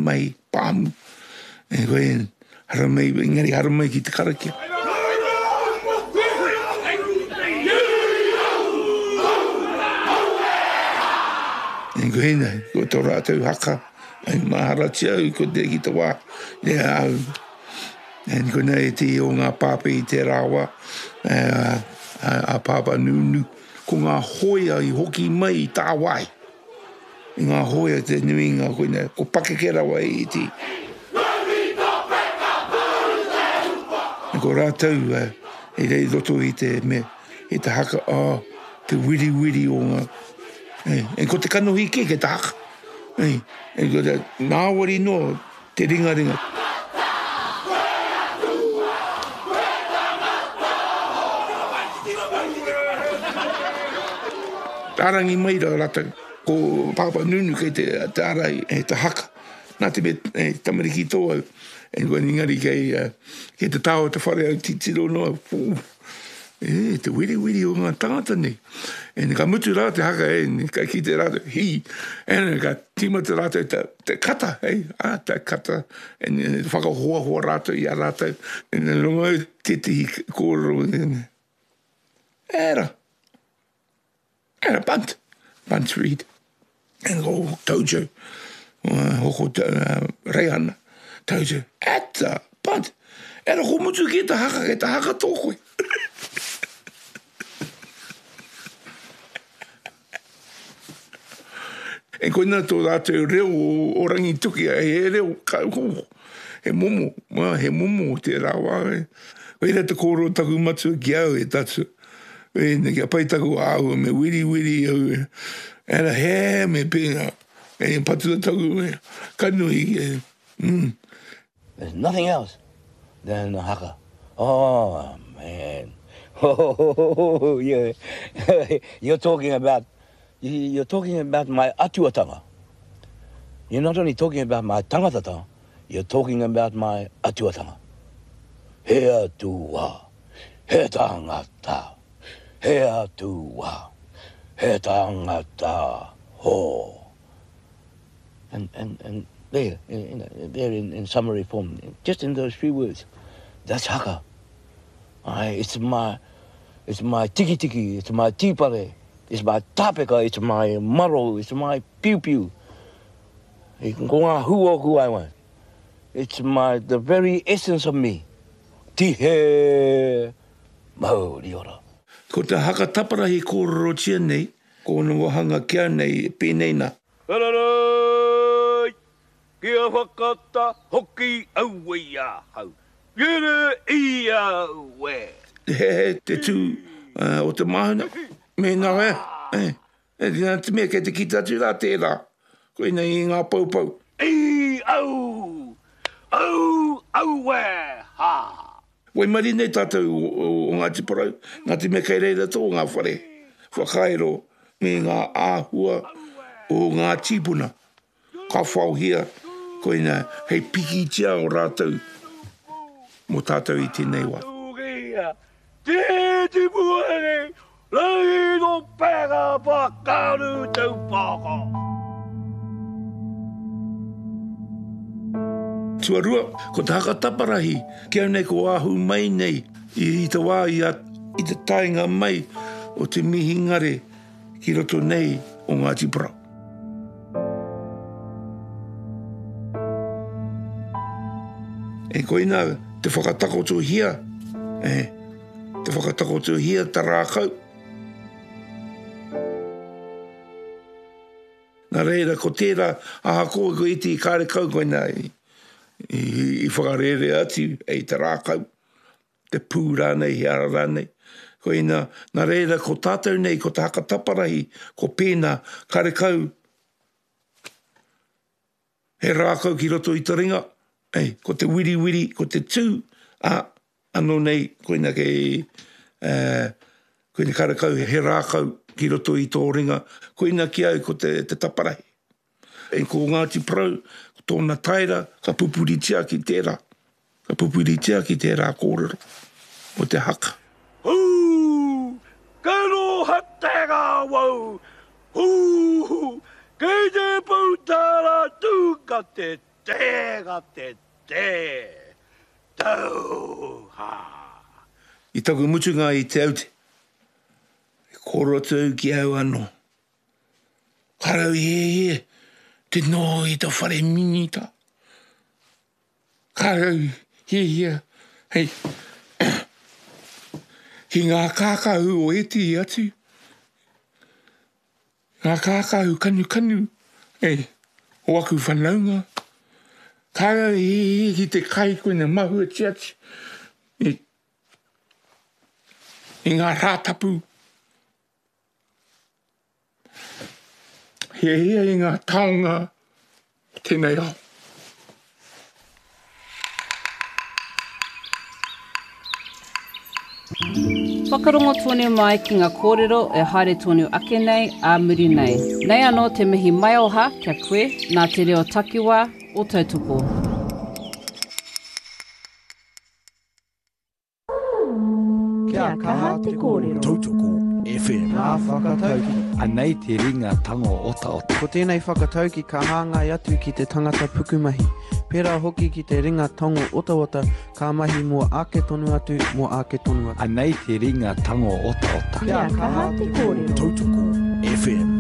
mahi pāmu. E koe, haramai, engari haramai ki te karakia. E koe, ko tō rātou haka, e maharatia au ko te ki te wā, e au, e konei te o ngā pāpē i tērā wā, e, a, a Pāpā Nūnū. Ko ngā hōia i hoki mai i tāwāhi. I ngā hōia te nuinga koinei, ko pakeke rawa i iti. Ko rātou i rei roto i te me, i te haka, oh, te wiriwiri o ngā, e, e, ko te kanohi kē kei te haka. E, e, ko te ngāwari noa te ringaringa. Rārangi mai rā rātou, ko Pāpā Nunu kei te ārai e te haka, nā te mea e tamariki tō au, engari kei te taha o te whare au titiro noa, E, te wiriwiri o ngā tangata nei. E, ka mutu rā te haka, e, ka kite rātou, hi, e, ka tīmata rātou te, te kata, e, a, te kata, e, e, whakahoahoa rātou i a rātou. E, rongo au tētehi kōrero, e, era, era, bunt, bunt read. E, ko Tojo, hoko Reihana, Tojo, eta, bunt, era ko mutu ki te haka, kei te haka tō koe. E koina tō rātou reo o Rangitukia, he reo, he momo, he momo tērā wā. Koira te kōrero taku matua ki au e tatu. Ēnei, kia pai taku āhua, me wiriwiri au, ēra hē, me pēnā, e patua taku kanohi, e, mm. There's nothing else than the haka. Oh, man. Oh, yeah. You're talking about, you're talking about my atuatanga. You're not only talking about my tangatatanga, you're talking about my atuatanga. He atua. He tangata, he atua, he tangata, ho. And, and, and there, you know, there in, in summary form, just in those few words, that's haka. I, it's my, it's my tikitiki, it's my tīpare, it's my tāpeka, it's my maro, it's my piupiu. Ko ngā hū o ku waewae. It's my, the very essence of me. Tihe mauri ora. Ko te haka taparahi kōrerotia nei, ko ōna wāhanga kia nei e pēnei nā. Araroi! Kia whakata hoki aue i ahau. Rere i aue! He he te tū o te māhuna, mēnā e, e, nā te mea kei te kite atu rā tērā, koinei i ngā poupou. I au! Au! Auē! Ha! Waimarie nei tātou o Ngāti Porou, nā te mea kei reira tō ngā whare whakairo me ngā āhua o ngā tīpuna. Ka whaohia koina hei pikitia o rātou mō tātou i tēnei wā. Tuarua, ko te haka taparahi, ki au nei ko ahu mai nei i te wā i a, i te taenga mai o te mihingare ki roto nei o Ngāti Porou. E koina te whakatakotohia, e, te whakatakotohia ta rākau. Nā reira, ko tērā, ahakoa ko iti kārekau koina i, i, i whakarērea atu e te rākau, te pū rānei, he ara rānei. Koina, nā reira, ko tātou nei, ko te haka taparahi, ko pēnā, karekau he rākau ki roto i te ringa, ei, ko te wiriwiri, ko te tū, ā, anō nei, koina kei, ā, koina karekau he rākau ki roto i tō ringa, koina ki au ko te, te taparahi. E ko Ngāti Porou, ko tōna taera, ka pupuritia ki tērā, ka pupuritia ki tērā kōrero o te haka. Hū! Kei roha te ngāwau! Hū! Kei te pūtara tū ka te tū! Tē ka te tē! Tau! Ha! I taku mutunga i Te Aute, i kōrero atu au ki au anō. Ka rau hiahia te noho i te whare minita. Ka rau hiahia hei ki ngā kākahu o ētehi atu. Ngā kākahu kanukanu, e, o aku whanaunga. Kāre au i hihi ki te kai koina mahuatia atu i, i ngā Rātapu. Hiahia i ngā taonga o tēnei ao. Whakarongo tonu mai ki nga kōrero e haere tonu ake nei ā muri nei. Nei anō te mihi maioha kia koe nā te reo takiwā o Tautoko. Kia kaha te kōrero. Tautoko FM. Ngā whakatauki. Anei te ringa tango otaota. Ko tēnei whakatauki ka hāngai atu ki te tangata pukumahi. Pērā hoki ki te ringa tango otaota ka mahi mō ake tonu atu, mō ake tonu atu. Anei te ringa tango otaota. Kia kaha te kōrero. Tautoko FM.